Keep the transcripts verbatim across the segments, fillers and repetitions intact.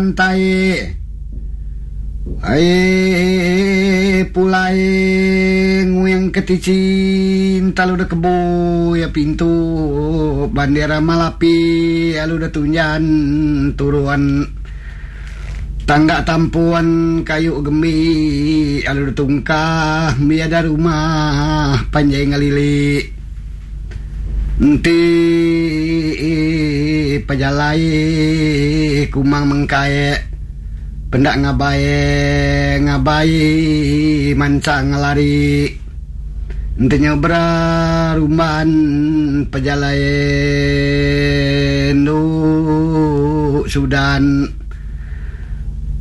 Tai ai pulai nguyang ke ticin talu da kebu ya pintu bandera malapi alu da tunjan turuan tangga tampuan kayu gemi alu da tungkah miada rumah panjai ngalili enti pejalai kumang mengkae pendak ngabai ngabai manca ngelari enti nyobra rumban pejalai nu Sudan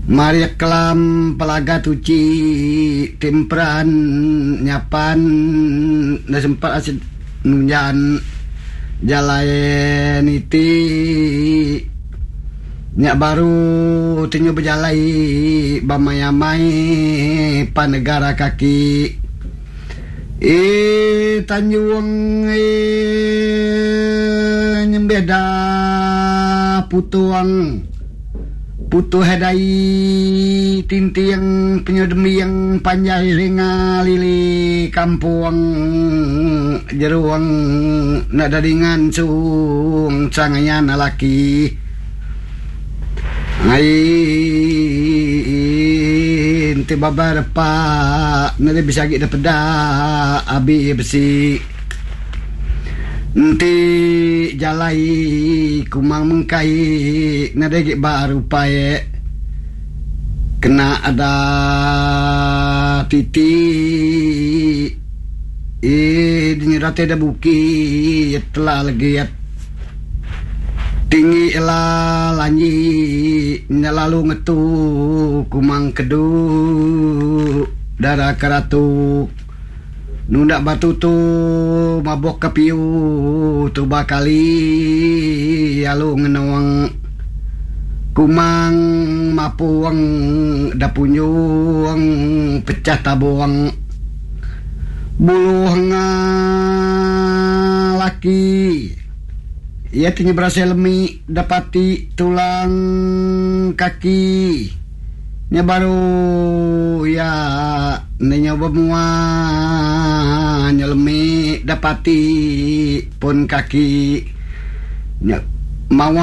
Maria kelam pelaga tuci timperan nyapan na sempat asid nunjan jalai niti nyak baru tinyu berjalai bamai-amai panegara kaki eh Tanjung eh nyembeda putuang putu hedai tintiang penyedemiang panjai ringa lili kampung jeruang nak daringan cung cangayan laki ai ente babar pa nade bisa gi peda abi besi enti jalai kumang mengkai nade gi baru pae kena ada titi eh dinyerate da bukit telah lagi tinggi ela lanyi lalu ngetu kumang kedu darah keratu nundak batu tu mabok ke piu tu bakali lalu ngenuang kumang mapuang dapunyuang pecah tabuang buluh laki ia tinggi berasa lemi dapati tulang kaki nya baru ya nenya bermua nyelemi dapati pun kaki nya mawa